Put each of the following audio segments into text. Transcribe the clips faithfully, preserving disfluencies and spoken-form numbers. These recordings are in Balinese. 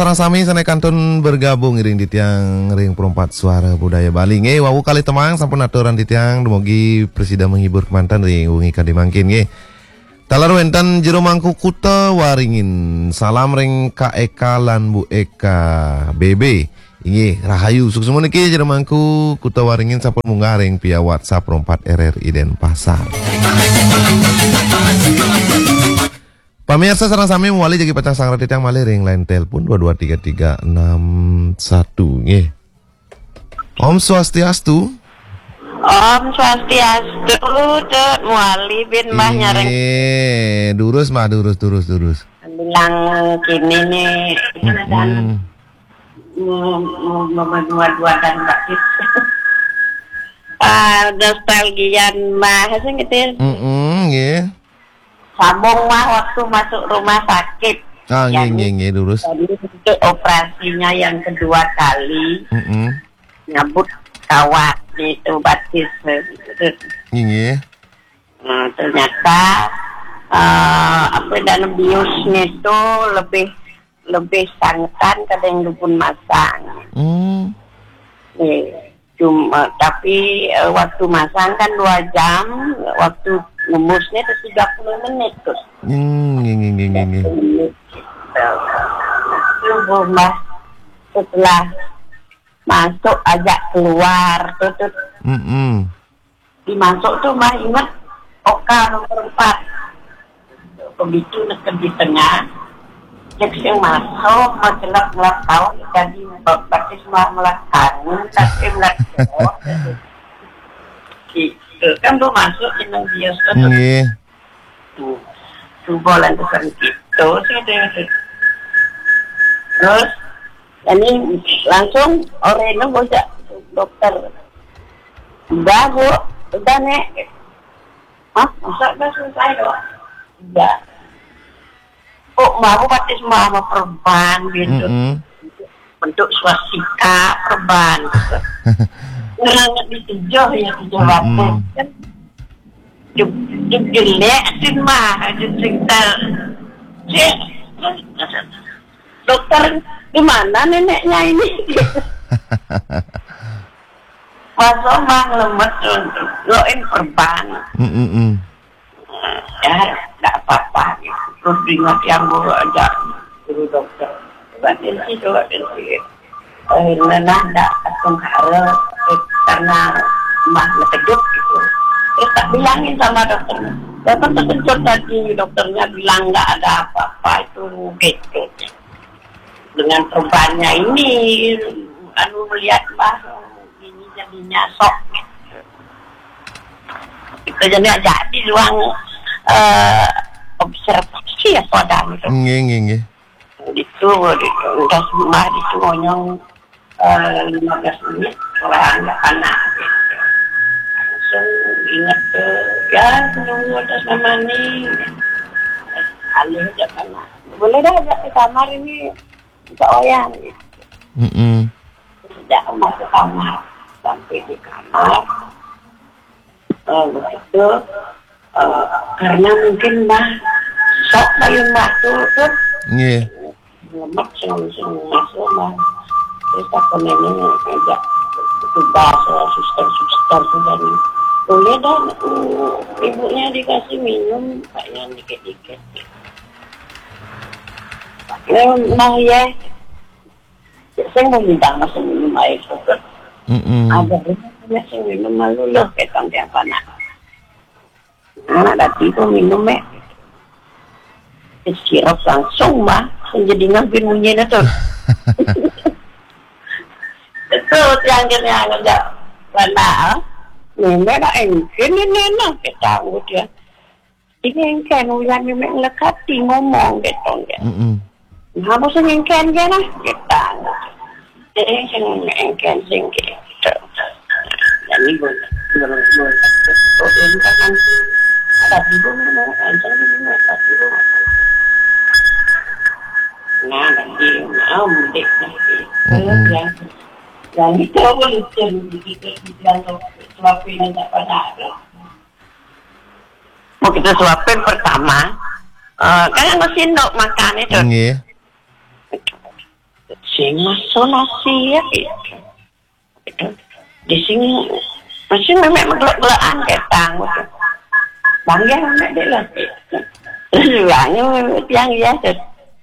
Sareng sami sané kantun bergabung iring titiang ring Perempat Suara Budaya Bali. Nggih, wau kalih tembang sampun aturan titiang, dumugi prasida menghibur kemanten ring wengi kadi mangkin nggih. Taler wénten Jero Mangku Kuta Waringin. Salam ring Kak Eka lan Bu Eka B B. Inggih, rahayu. Suksma niki Jero Mangku Kuta Waringin sampun munggah ring via WhatsApp Perempat R R I Denpasar. Pamirsa sareng sami mawali jagi pacang sareng titiang malih ring line telepon dua dua tiga tiga enam satu nggih. Om Swastiastu. Om Swastiastu, Tut, mawali bin Mbah nyareng. Inggih, durus Mbah, durus, durus, durus. Bilang kini nih, mm, mm, mm, mm, dua dan Mbak Tis. Ah, nostalgia Mbah, sing gitu. Mm-mm, nggih. Sambung mah waktu masuk rumah sakit. Ah, nggih, nggih, nggih, durus. Jadi untuk operasinya yang kedua kali, mm-mm, nyabut kawat itu batis. Nggih, nggih. Nah, ternyata eh, apa dan biusnya itu lebih lebih sangetan kadang dukun masang. Hmm. Eh, cuma tapi eh, waktu masang kan dua jam, waktu ngembusnya itu tiga puluh menit tuh. Hmm, nggih, nggih, nggih, nggih, nggih. Tiga puluh menit. Itu rumah setelah masuk ajak keluar tuh, tuh. Mm-mm. Di masuk tuh Mbah inget oka nomor empat. Begitu neken di tengah, cek sing masuk, macelak melak tahun, jadi batis mah melak kangen, tapi melak jauh. Gitu. Kan lu masuk di nang bios kan. Nggih. Tuh, coba lantasan gitu, sih deh. Terus, ini langsung oreno bocah dokter. Udah, Bu. Udah, Nek. Hah? Masa udah selesai, Dok? Iya. Kok mau batis mama perban gitu? Mm-mm. Bentuk swastika perban gitu. Ngeranget di tujuh ya, tujuh batu. Mm-mm. Kan juk, juk jelek sih mah, juk sing ter-, cek. Dokter, di mana neneknya ini? Masa mah ngelemet tuh, doain perban. Mm-mm. Ya, nggak apa-apa gitu. Terus diingat yang guru aja, guru dokter. Coba tensi, coba tensi. Eh, nenah ndak langsung harap, eh, karena mah ngetejuk gitu. Terus tak bilangin sama dokter. Dokter terkejut tadi, dokternya bilang nggak ada apa-apa itu gitu. Dengan perubahannya ini, anu melihat mah ini jadinya sok gitu. Kita jadi jadi ruang eh, observasi ya pada gitu. Nggih, nggih, nggih. Itu, udah sembah itu ngonyong eh, lima belas menit, orang nggak panas. Langsung ingat ke, ya, menunggu atas nama nih. Alih aja panas. Boleh dah ajak ke kamar ini, minta wayang. Mm-mm. Tidak masuk kamar. Sampai di kamar, eh, begitu, eh, karena mungkin Mbah sok payun batu tuh. Nggih. Lemak sing sing masuk Mbah. Terus aku nenek ngajak petugas, eh, suster-suster tuh dan boleh dah, eh, ibunya dikasih minum kayak dikit-dikit. Ya, Mbah ya. Sing mau minta masuk minum air tuh. Mm-mm. Ada sing minum malu loh, ketang tiap anak. Anak tadi tuh minum, eh. Sirop langsung, Mbah. Sing jadi ngambil munyinya tuh. Itu yang kena ngajak mana? Nenek nak engkin ni nenek, kita anggut ya. Ini engkin, uyan ni mek lekati ngomong, gitu, gitu. Mm-mm. Nah, apa sing engkin, gitu, nah? Kita anggut. Jadi sing engkin, sing gitu. Jadi boleh, boleh, boleh. Oh, ini kan nanti ada bingung, ada bingung, ada bingung. Nah, nanti mau mudik nanti. Mm-mm. Yang, yang itu apa lucu, begitu dibilang suapin aja pada ada. Mau kita suapin pertama, eh, kan yang sendok makan itu. Nggih. Sing maso nasi ya. Di sini masih memek meglek-glekan ketang. Bangga memek dek lah. Lalu memek tiang ya.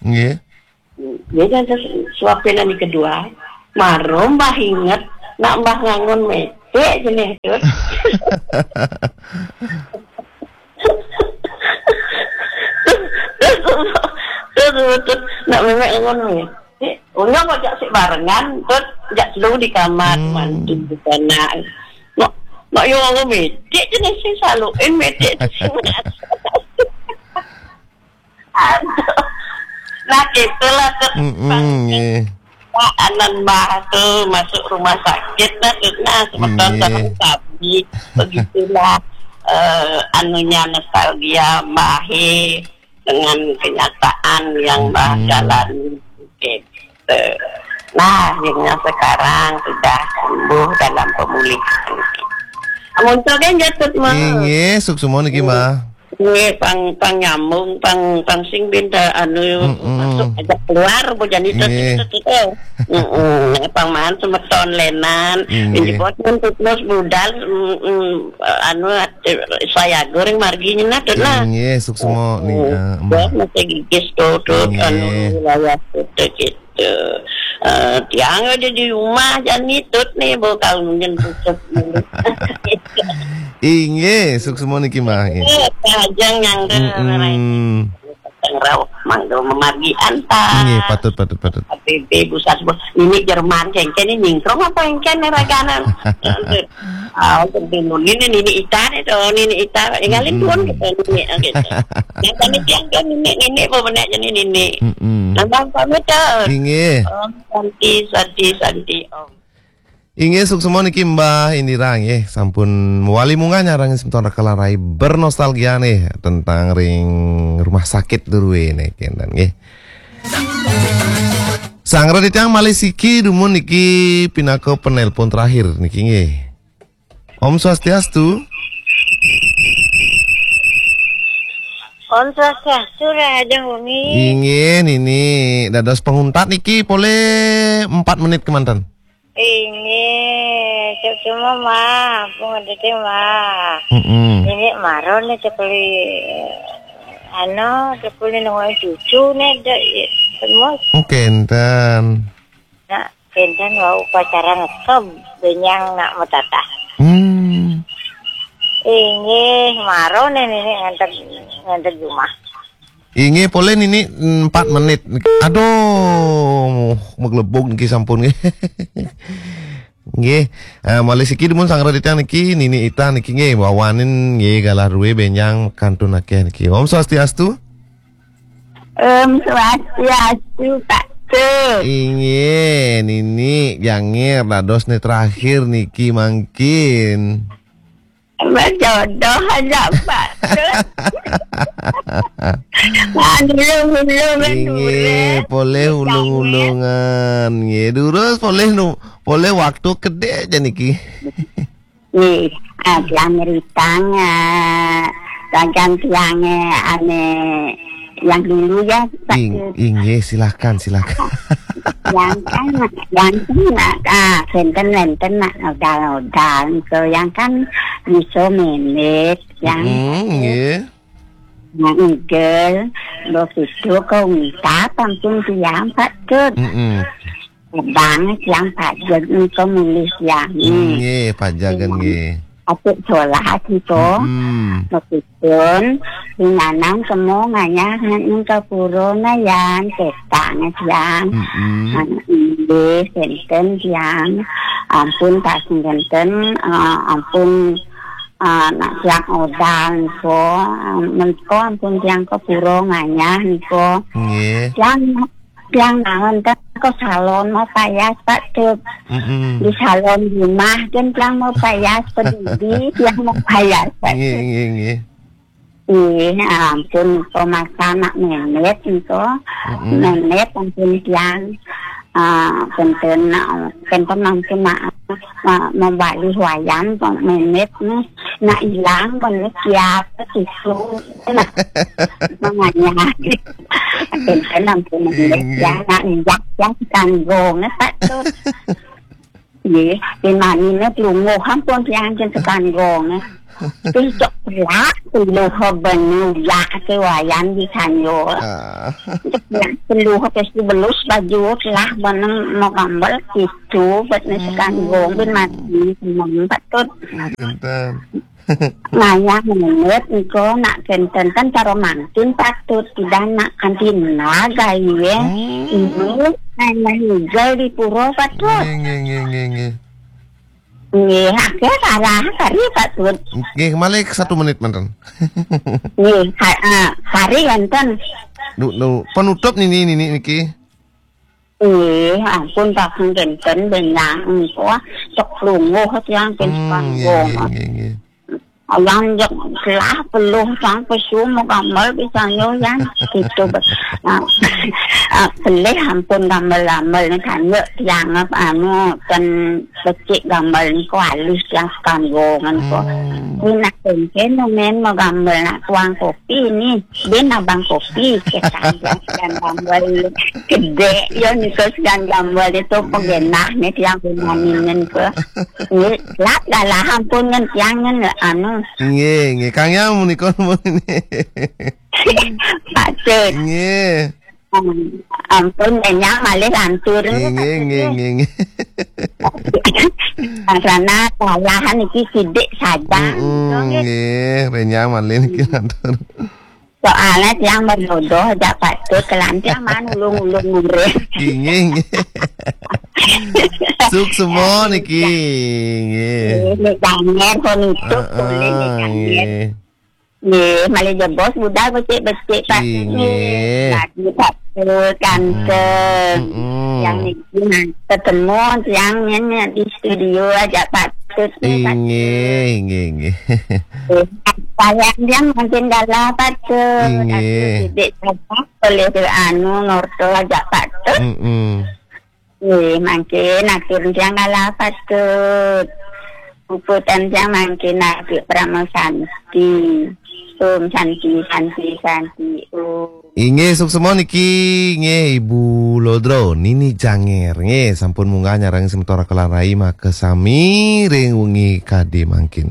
Nggih. Dia dah suapin yang kedua. Maro mbah inget nak mbah ngangon metek jenis tu. Terus, terus, terus, nak memek ngangon metek. Unyong kok jak sik barengan, terus jak selalu di kamar. Hmm. Mantu di sana. Nak, nak yo ngangon metek jenis sing saluin metek tu sing. Aduh. Nah, gitulah tu. Mm-mm, nggih. Anan mbah tu masuk rumah sakit lah tu. Nah, semeton nggih. Terus kami begitulah, eh, anunya nostalgia mbah dengan kenyataan yang mbah jalani. Gitu. Nah, akhirnya sekarang sudah sembuh dalam pemulihan. Amun tu kan jatuh mah. Inggih, suksma niki, Mbah. Nggih, pang, pang nyambung, pang, pang sing benda anu masuk aja keluar, bu jani tu, nggih, tu, tu, tu. Heeh, pang maan semeton lenan, inggih, inji buat pun tutmus budal, mm, mm, anu, eh, saya goreng margi nyena tu lah. Inggih, suksma nih. Heeh. Buat masih gigis tu, tu, anu, nggih, wilayah tu, tu, gitu. Eh, tiang aja di rumah jani tut nih, bu kalau mungkin tutup dulu. Inggih, suksma niki, Mbah, nggih. Eh, Kajeng yang de-, mm-mm, mangga memargi antar. Nggih, patut, patut, patut. Tapi ibu sasbo, ini Jerman kengken ini nyingkrong apa engken nih raganan. Ah, untuk bingung. Ini Nini Ita nih tuh, Nini Ita. Ingalin tuan kita Nini, ah, gitu. Yang kami tiang kan Nini, Nini, apa benar jadi Nini. Mm-mm. Nambah pamit tuh. Inggih. Om Santi, Santi, Santi, Om. Inggih, suksma niki Mbah Indira nggih, sampun mewali munggah nyarengin semeton Raka Larai bernostalgia nih tentang ring rumah sakit durwe nih kenten nggih. Sanggra titiang malih siki dumun niki pinaka penelpon terakhir niki nggih. Om Swastiastu. Om Swastiastu, Raja Wengi. Inggih, Nini. Dados penguntat niki polih empat menit kemanten. Inggih, cek cuma mah, ampun ngedetek mah. Mm-mm. Nini maro nih cek beli, anu, cek beli nungguin cucu nih, dek, ya, semua. Oke, enten. Nah, enten wau upacara ngekeb, benyang nak metatah. Hmm. Inggih, maro nih Nini nganter, nganter jumah. Inggih, polih Nini empat menit. Aduh, maglebug niki sampun nggih. Nggih, eh, malih siki dumun sanggra titiang niki, Nini Ita niki nggih, wawanin nggih galah rue benyang kantun akeh niki. Om Swastiastu. Om Swastiastu, Pak Tut. Inggih, Nini Jangir dados ne terakhir niki mangkin. Berjodoh aja, Pak Tut. Nah, dulu-dulu kan. Inggih, dulu. Polih ulung-ulungan. Nggih, durus polih nu, polih waktu kedek aja niki. Nggih, ah, tiang nyeritang, ah, ragan tiang, eh, ane yang dulu ya, Pak Ing-, Tut. Inggih, silakan, silakan. Yang kan, yang kan, ah, senten, senten, nak, odal-odal. So, yang kan bisa mimit, yang mm, nggih. Nah, igel, begitu kau minta ampun tiang, Pak Tut. Mm-mm. Bang, tiang pajeg nika mulih tiang. Nggih, pajagan nggih. Apik solah nika. Mm-mm. Begitu, dinanang semua ngayah nika purona yan, ketang tiang. Mm-mm. Nah, inggih, senten tiang. Ampun, pas senten, eh, ampun, ah, nak tiang odal niko, ah, niko ampun tiang kepuro ngayah niko. Nggih. Tiang, tiang naon teh ke salon mau payas, Pak Tut. Mm-mm. Di salon rumah kan tiang mau payas, peduli tiang mau payas, Pak Tut. Nggih, nggih, nggih. Ih, ampun, niko masa nak memet niko. Mm-mm. Memet ampun tiang. Ah, penten, ah, penten ampun maaf, ma-, membalik wayang kok memet nih. Nak ilang, mana siapa tisu. Nak, makanya. Akhirnya nampun. Inggih. Ya, nak injak, yang kanggo, ngetak tuh. Nggih, pinanine klunguh ampun tiang jen sekanggo, nggih. Terus cok pelak, peluk bener, ya, ke wayan di kanyo. Ah. Cok pelak, peluk, terus belus baju, telah bener, mau gambar, gitu, buat ni sekanggo, ben mati, seneng, patut. Enten. Ngayah menit engko nak kenten kan cara mangkin patut tidak nak kantina gawe. Hmm. Ini nang hijau di pura patut. Nggih, nggih, nggih, nggih, nggih. Nggih, akhir salah kari patut. Nggih, malih satu menit manten. Nggih, ha, ah, kari enten. Nu, nu, penutup nini, nini niki. Eh, ampun, Pak, kenten benyang engko, cek lungguh tiang pen Hmm, nggih, sepanggung. Nggih, nggih, nggih. Ayang jek lah peluh sang pesu mau gambar bisa nyoyan. Gitu, be-, ah, ah, pelih ampun gambar-gambar ni kan, yuk, tiang apa, anu, kan becik gambar ni ko alus yang sekanggungan ko. Hmm. Ni nak kenten, men mau gambar nak tuang kopi ni. Dia nak bang kopi, ke tangga dan gambar kedek, yo, ni ko segan gambar itu pengenah ni tiang pemaninen ko. Ni, lap dah lah ampun ngan tiang ngan, anu. Nggih, nggih. Kang Yang menika nggih. Patut. Nggih. Hmm, ampun, banyak malih lantur. Nggih, nggih, nggih, nggih, nggih. Karena salahan iki sidik saja. Mm-mm, nggih. Nggih, renyah malih niki lantur. Soalnya tiang berjodoh, jak patut kelantiang man ulung-ulung murid. Nggih, nggih. Suksma niki, nggih. Ini janger pun itu, boleh ni janger. Heeh, nggih. Nggih, malih jebos budal becik-becik, Pak. Nggih. Nggih. Lagi satu tante. Mm-mm. Yang niki, nah, ketemu tiang ni di studio aja patut ni, Pak. Nggih, nggih, nggih. Nggih. Sayang dia mungkin dalam patut. Nggih. Aduh, sidik saja boleh anu, nurto aja patut. Mm-mm. Nggih, mangkin atur tiang kalah patut. Puputan tiang mangkin atur Parama Santi. Om Santi, Santi, Santi, Om. Inggih, suksma niki, nggih, Ibu Lodro, Nini Janger, nggih, sampun munggah nyarengin semeton Raka lan Rai makasami ring wengi kadi mangkin.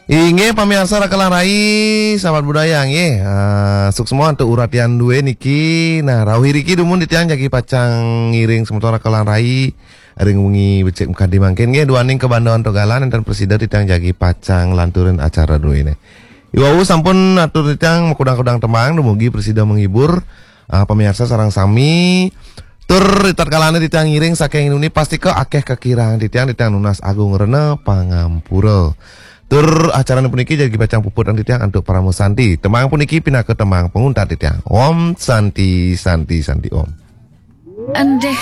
Inggih, pamiarsa Raka lan Rai, sahabat budaya, nggih. Ah, suksma antuk uratian duwe niki. Nah, rauh iriki dumun titiang jagi pacang ngiring semeton Raka lan Rai ring wengi becik makadi mangkin, nggih, duaning kabanda antuk galah, nenten prasida titiang jagi pacang lanturin acara duwene. Iwau sampun atur titiang makudang-kudang tembang, dumugi prasida menghibur, ah, pamiarsa sareng sami. Tur ritatkalané titiang ngiring saking nuni, pastika akéh kakirang titiang, titiang nunas agung rena pangampura. Tur acarané puniki jagi pacang puputang titiang antuk Parama Santi. Tembang puniki pinaka tembang panguntat titiang. Om Santi, Santi, Santi Om. Endih